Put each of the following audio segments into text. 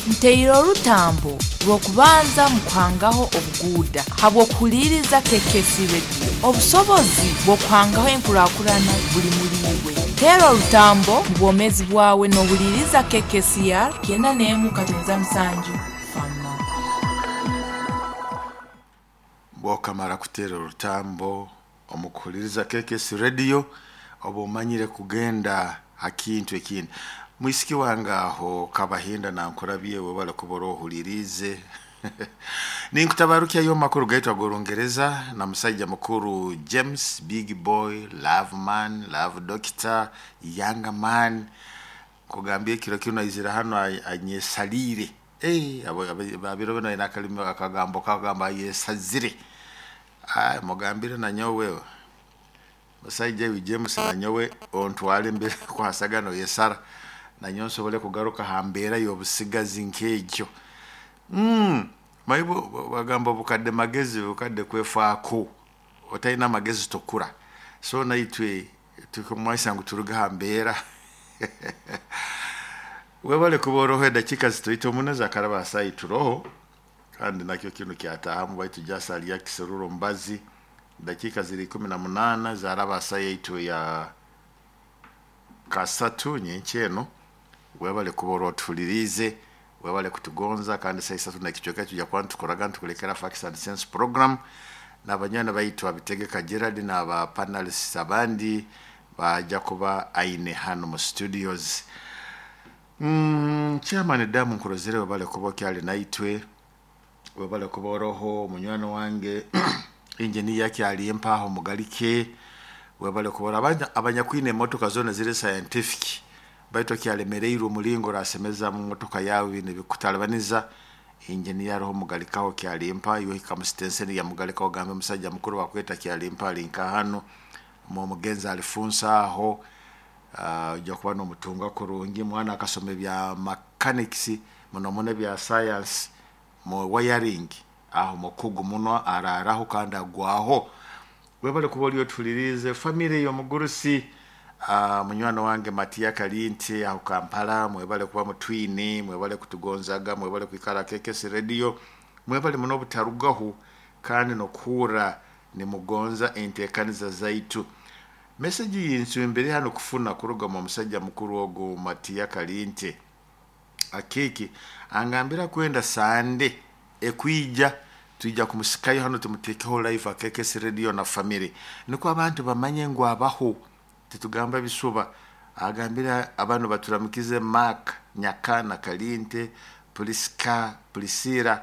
Nteire orutambo rw'okubanza mu kuhangaho obuguuda habw'okuhuliiriza KKC Radio. Obusobozi bw'okuhangaho enkurakurana buli muli iwe. Teera orutambo mu bwomeezi bwawe n'ohuliiriza KKCR 91.7 Fama. Bwokamara kuteera orutambo omu kuhuliriza KKC Radio, oba omanyire kugenda ha kintu ekindi. Mwisiki wange aho Kabahinda nankurabye, webale kuba orohuliriize. Ninkutabarukyayo makuru gaitu ag'Orungereza na musaija mukuru James Big Boy, Love Man, Love Doctor, Young Man. Nkugambye ekiro kinu aizire hanu anyesaliire. Abiro binu aine akalimi akagambo kagamba ayesazire. Mugambire nanyowe musaija iwe James, nanyowe ontwale mbere kwasagana noyesara, nanyowe nsobole kugaruka ha mbeera y'obusigazi nk'egyo. Maibo bagamba obukadde magezi, obukadde kwefaako, otalina amagezi tokura. So naitwe tukumanyisa ngu turuge ha mbeera. Webale kuba oroho, edakiika zitoito muno zakaraba ha saaha turoho, kandi nakyo kinu kyataahamu baitu just alya kiserura omubazi. Dakiika ziri 18 zaraba ha saaha yaitu ya kasatu nyenkya eno. Webale kuba oroho otuhuliriize, webale kutugonza, kandi saa isatu n'ekicweka tujya kuba nitukoraga nitukulekera Facts and Sense program n'abanywani baitu abitegeka Gerard n'aba panelists abandi bajja kuba aine hano mu studios. Chairman Damu nkurozere, webale kuba okyali naitwe, webale kuba oroho munywani wange engineer akyali mpaho mugalike, webale kuba abanyakwine emotoka zona ziri scientific, baitu okyalemereirwe omulingo orasemeza mu motoka yawe nibikutalibaniza. Engineer aroho mugalikaho kyalimpa, iwe hika mu sitenseni ya mugalikaho ogambe omusajja mukuru bakweta kyalimpa ali nka hano omugenzi alifunsa aho, ojja kuba n'omutunga kurungi. Mwana akasoma ebya mechanics muno muno ebya science mu wiring, aho mukugu muno, araraho kandi agwaho. Webale kuba oli otuhuliriize. Famire y'omugurusi munywani wange Matiya Kalinte aho Kampala, mwebale kuba mutwine, mwebale kutugonzaga, mwebale kwikara KKC Radio, mwebale muno obutarugaho kandi n'okuhurra nimugonza enteekaniza zaitu. Meseji yinsumbire hano kufuna kuruga mu musajja mukuru ogu Matiya Kalinte akiki angambira kwenda Sande ekwija tuija kumusikayo hano tumutekeho live KKC Radio na family, niko abantu bamanye ngu abaho, titugamba bisuba. Agambira abantu baturamukize Mark Nyakana Kalinte, Priska Priscilla,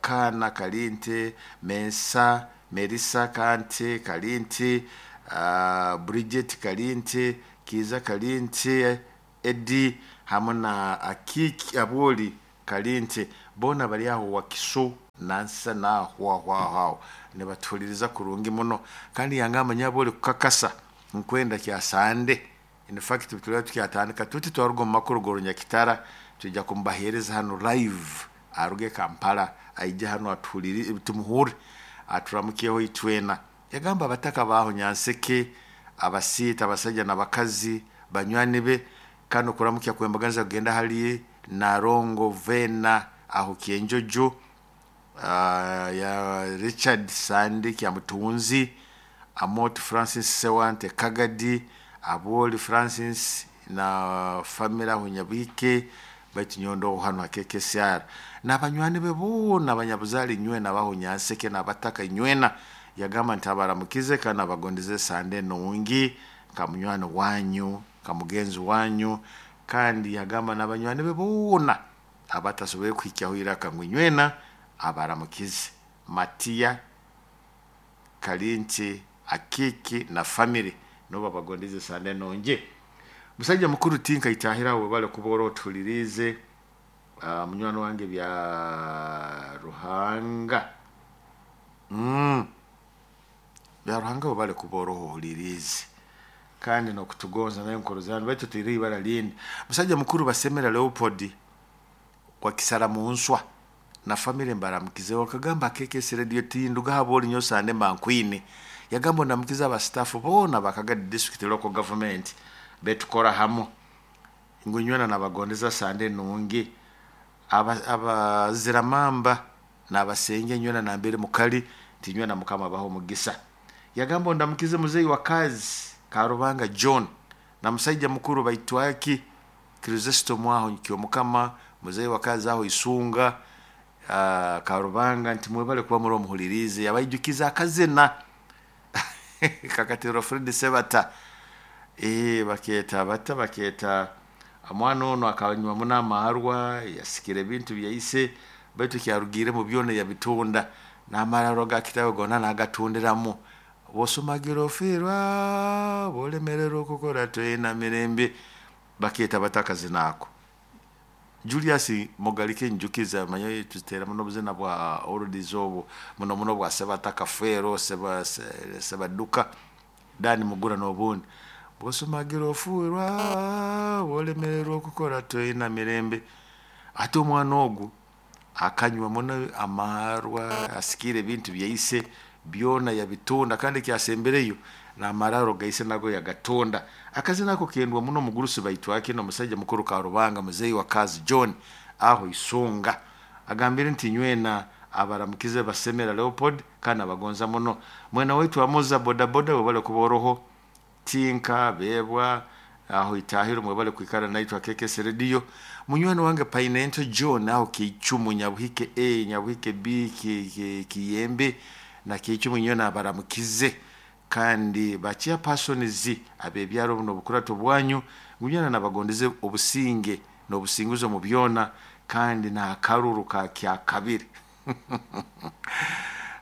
Kana Kalinte, Mensa Melissa Kante Kalinte, Bridget Kalinte, Kiza Kalinte, Eddie hamwe na Akiki Aboli Kalinte, bona bari aho Wakiso nansa naho aho aho nibatuhuliriza kurungi muno. Kandi yangamba nyaboli kukakasa nkwenda kya Sande. In fact tulaba tukyatandika tuti twaruga omu makuru g'Orunyakitara, tujja kumubaheereza hano live, aruge Kampala aije hano atuhulire, tumuhure aturamukeho itwena. Yagamba abataka baho Nyanseke, abasiita, abasajja n'abakazi banywani be, kandi okuramukya kwembaganiza kugenda hali Narongo Vena aho Kyenjojo, ya Richard Sande Kyamutunzi, Amot Francis Sewante Kagadi, Aboli Francis na family aho Nyabwike, baitu nyondo hano ha KKCR n'abanywani be boona abanyabuzaale nywena baho Nyanseke n'abataka nywena. Yagamba nti abaramukize kandi abagondeze Sande nungi nka munywani wanyu, nka mugenzi wanyu. Kandi yagamba n'abanywani be boona abatasoboire kuhikyaho iraka ngu nywena abaramukize. Matiya Kalinte Akiki na family nobo abagondeze Sande nungi. Musajja mukuru tinka itahira, webale kuba oroho otuhuliriize. Munywani wange bya Ruhanga, bya Ruhanga, webale kuba oroho ohuliriize kandi n'okutugonza nayo nkorozani, baitu tuire ibara lindi. Musajja mukuru Basemera Leopold wa Kisara Munswa na family mbaramukize, wakagamba KKC Radio tinduga haboli nyo Sande mbankwine. Yagamba ondamukize abastaff boona ba Kagadi District Local Government betukora hamu. Ngu nywena nabagondeza sande nungi. Abaziramamba nabasenge nywena nambere mukali tinywena Mukama abaho omugisa. Yagamba ondamukize muzeyi wa kazi Karubanga John na musaija mukuru baitwaki Kristo mwaho Kyomukama muzeyi wa kazi aho Isunga Karubanga nti mwebale kuba muri omuhulirize yabaijukiza akazina kakatero Fred Sebata baketa bata baketa omwana ono akanywa muno amarwa yasikira ebintu byaise baitu kyarugiremu byona yabitunda n'amararo ga kitabu gona nagatundiramu bosumagira ofiirwa bolemererwa okukora twena mirembe baketa bata akazina ako. Julius Mugalike njukiza manyo tutera muno obuzina bwa oldies obu muno muno bwa Sebata Kafeero Sebaduka Dani Mugura n'obundi bosumagira ofiirwa bolemererwa okukora twena mirembe. Ate omwana ogu akanywa muno amarwa asikira ebintu byaise byona yabitunda kandi kyasembereyo n'amararo gaise nago yagatunda. Akazina ako kendwa muno omugurusi baitwake n'omusajja mukuru Karubanga muzeyi wa kazi John aho Isunga agambire nti nywena abaramukize basemera Leopold kandi abagonza muno. Mwena waitu amoza bodaboda webale kuba oroho tinka bebwa aho itahiro mwebale kwikara naitwa KKS Radio. Munywani wange Painento John aho Kichumu Nyabuhike A Nyabuhike B Kiyembe na Kichumu nywena abaramukize kandi bakia persons abebyaro buno bukurato bwanyu ngunyana nabagondeze obusinge n'obusinguzo mu byona kandi na karuru ka kya kabiri.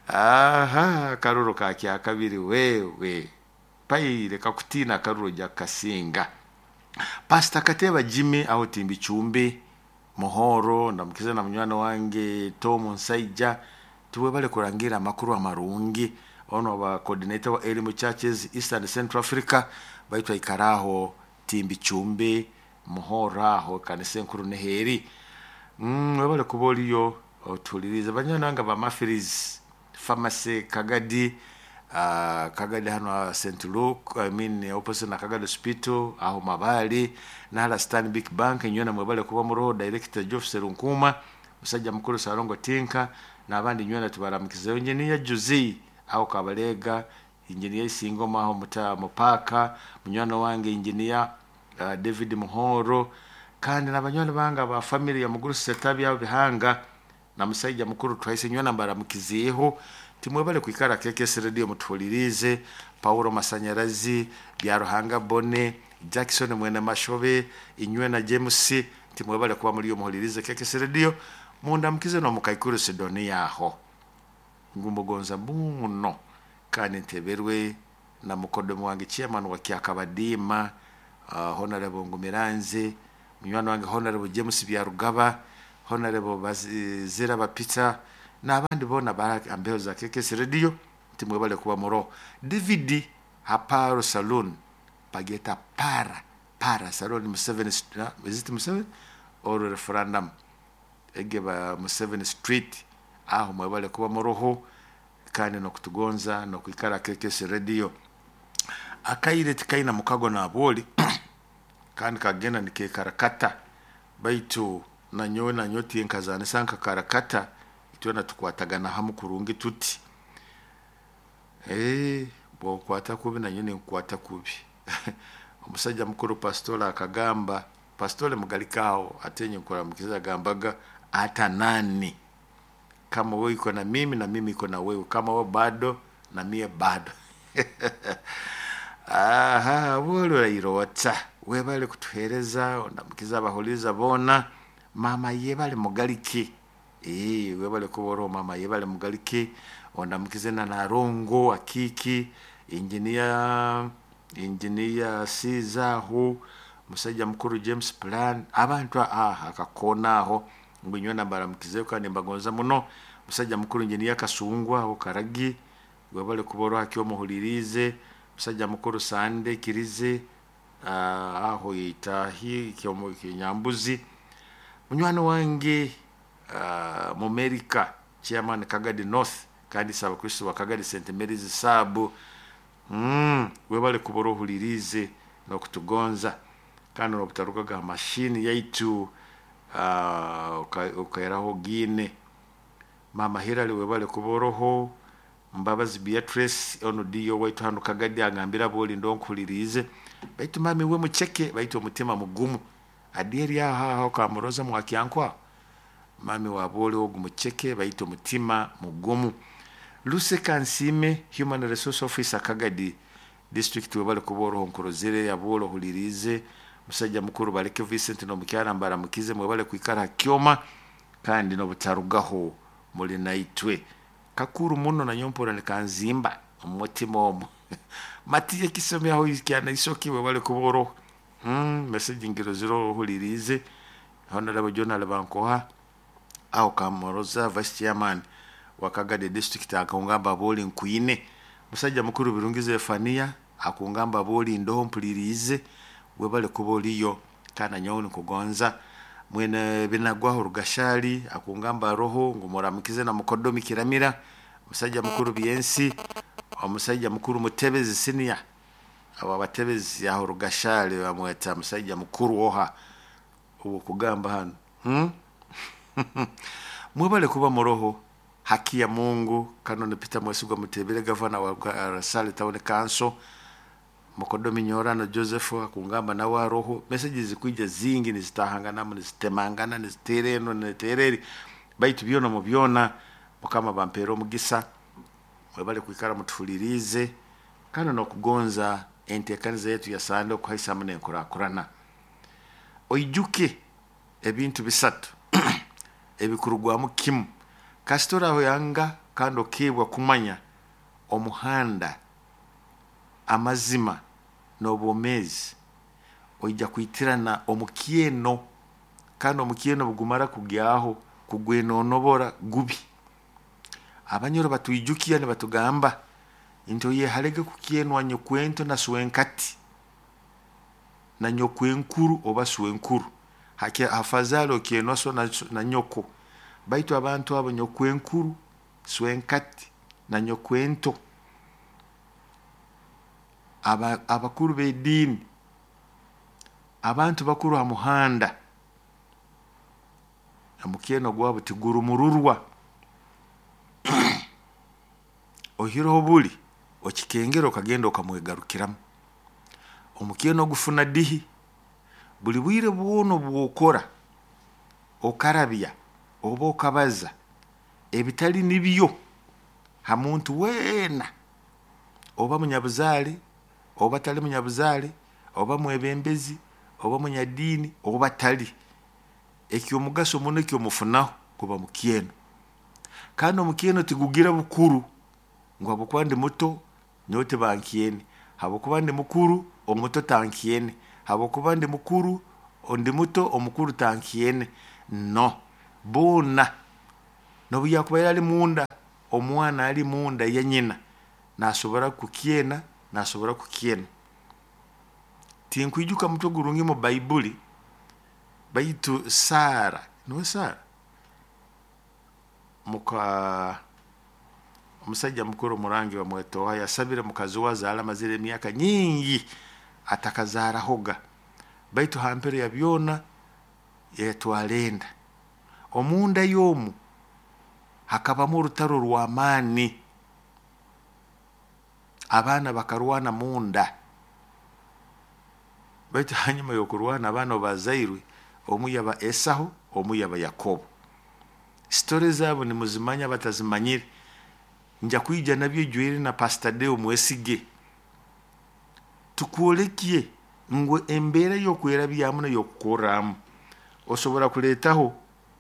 Aha karuru ka kya kabiri wewe paire kakutina karuru ja kasinga. Pastor Kateba Jimmy aho Timbi Chumbi Muhoro ndamukiza na munywani wange Tom Nsaija tuwebale kurangira amakuru amarungi ono ba coordinator wa Elimu Churches East and Central Africa baitwa ikaraho Timbi Chumbi Muhoro aho kanisa enkuru neheri. Webale kuba oliyo otuliriza banyananga ba Mafiris Pharmacy Kagadi Kagadi hano St. Luke I mean opposite na Kagadi Hospital aho Mabali na Stanbic Bank nywena mwebale kuba muroho director Geoff Serunkuma musajja mukuru Sarongo Tinka n'abandi nywena tubaramukizeyo. Engineer Juzi aho Kabalega, engineer Isingoma aho muta mupaka munywani wange engineer David Muhoro kandi n'abanywani banga ba family ya muguru Setabi aho Bihanga na musajja mukuru twahise nywena mbaramukizeho timwebale kwikara KKS Radio mutulirize. Paulo Masanyarazi Byaruhanga Bone Jackson Mwene Mashobe inywena James timwebale kuba muri yo muhulirize KKS Radio mundamukize no mukaikuru Sidonia aho ngumugonza muno kandi nteberwe na mukodomo wange chairman wa Kyakabadima Honorable Ngumiranze munywani wange Honorable James Byarugaba Honorable Bazira Bapita n'abandi bona ambeho za KKS Radio timwebale kuba muro. DVD Haparo Saloon pageta para Saloon Museveni is it Museveni or referendum egeba Museveni Street aho mwebale kuba muroho kandi no kutugonza no kwikara KKS Radio. Akaire tikaina mukago na aboli kandi kagenda nikekarakata baitu nanyowe nanyoti nkazana sanka karakata itwena tukwatagana hamu kurungi tuti bwokwata kubi nanyo nkwata kubi. Omusajja mukuru pastora akagamba pastore Mugalikaho atenye kuramukiza agambaga hata nani kama wewe iko na mimi na mimi iko na wewe, kama wewe bado na mie bado. Aha wolo irota webale kutuhereza ondamukiza abahuliza bona mama yebale Mugaliki webale kuboro mama yebale Mugaliki ondamukize na Narongo akiki engineer Sizaho musajja mukuru James Plan abantu akakona aho ngwinywena baramukizeyo kandi mbagonza muno. Musajja mukuru engineer Kasungwa aho Karagi webale kuboro hakyo muhulirize. Musajja mukuru Sande Kirize aho itahi Kinyambuzi munywani wange mu America chairman Kagadi North kandi saba Kristo wa Kagadi St Mary's Sabu webale kuboro hulirize no kutugonza. Kandi n'obutarugaga ha mashini yaitu, okairaho giine. Mama Hillary, webale kuba oroho. Mbabazi Beatrice, onu diyo waitu hanu Kagadi, agambira boli ndonkuhuliriize, baitu mami we muceke, baitu omutima mugumu. Adieri aho aho kamuroza mwakyankwa mami waboli ogu muceke, baitu omutima mugumu. Luse Kansime, human resource officer, Kagadi district, webale kuba oroho, nkurozere yaboli ohuliriize. Musajja mukuru Baleke Vincent n'omukyara mbaramukize, mwebale kwikara ha kyoma kandi n'obutarugaho muli naitwe. Kakuru muno nanyowe mpura nikanzimba omu mutima omu. Matiye kisomi aho kyana isoki, webale kuba oroho. Message ngirozire ohuliriize. Honorable John Alibankoha aho Kamuroza, vice chairman wa Kagadi district, akungamba boli nkwine. Musajja mukuru Birungi Zefania akungamba boli ndoho mpuliriize, webale kuba oliyo kandi nanyowe nikugonza. Mwene Binagwaho Rugashali akungamba roho ngu muramukize na mukodomi Kiramira. Musajja mukuru Byensi, omusajja mukuru Mutebezi senior, abo abatebezi aho Rugashali bamweta musajja mukuru oha ubu kugamba hano, Mwebale kuba muroho. Haki ya Mungu. Kano ni Peter Mwesigwa Mutebere, gavana wa Rasali Town Council. Mukodomi Nyorano Joseph akungamba nawe aroho. Messages zikwija zingi, nizitahanganamu, nizitemangana, nizitera eno nizitera eri, baitu byona mu byona Mukama bampera omugisa. Mwebale kwikara mutuhuliriize kandi n'okugonza enteekaniza yetu ya sande okuhaisamu n'enkurakurana. Oijuke ebintu bisatu ebikurugwamu kimu kasita orahoyanga kandi okeebwa kumanya omuhanda, amazima n'obwomeezi, oija kwitirana omukyeno, kandi omukyeno bugumara kugyaho kugwenonobora gubi. Abanyoro batwijukya nibatugamba nti oyeharege kukyenwa nyokwento na swenkati na nyokwenkuru oba swenkuru. Hafazali okyenwa so na nyoko, baitu abantu abo nyokwenkuru, swenkati na nyokwento, abakuru b'ediini, abantu bakuru ha muhanda, omukyeno gwabo tigurumururwa. Oihireho buli okikengera okagenda okamwegarukiramu. Omukyeno ogufuna dihi buli bwire bwona obwokora okarabya oba okabaza ebitali nibyo ha muntu weena, oba munyabuzaale oba tali munyabuzaale, oba mwebembezi oba munyadiini oba tali, ekyomugaso muno ekyomufunaho guba mukyeno. Kandi omukyeno tigugira bukuru ngu habwokuba ndi muto nyowe tibankyene, habwokuba ndi mukuru omuto tankyene, habwokuba ndi mukuru ndi muto omukuru tankyene. No boona nobu yakubaire ali munda, omwana ali munda ya nyina nasobora kukyena, nasobora kukyena. Tinkwijuka mutwe gurungi mu Baibuli, baitu Sara, nuwe Sara muka omusajja mukuru omurangi bamweta oha, yasabire mukazi we azaale, amazire emyaka nyingi atakazaarahoga, baitu ha mpero ya byona yatwara enda. Omunda y'omu hakabamu orutaro rw'amaani, abaana bakarwana munda, baitu hanyuma y'okurwana abaana obu bazairwe, omu yaba Esahu, omu yaba Yakobo. Sitore zaabo nimuzimanya, batazimanyire nja kwija nabyo ijwire na Pastor Deo Mwesige, tukwolekye ngu embeera y'okwerabyamu n'ey'okukorramu osobora kuleetaho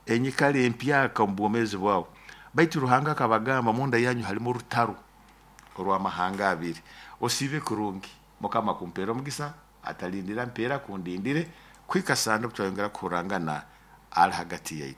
enyikara empyaka omu bwomeezi bwawe. Baitu Ruhanga akabagamba munda yanyu halimu orutaro orw'amahanga abiri. Osiibe kurungi, Mukama kumpeera omugisa, atalindira mpeera kundindire kuhika sande obu twayongera kuhurrangana ali hagati yaitu.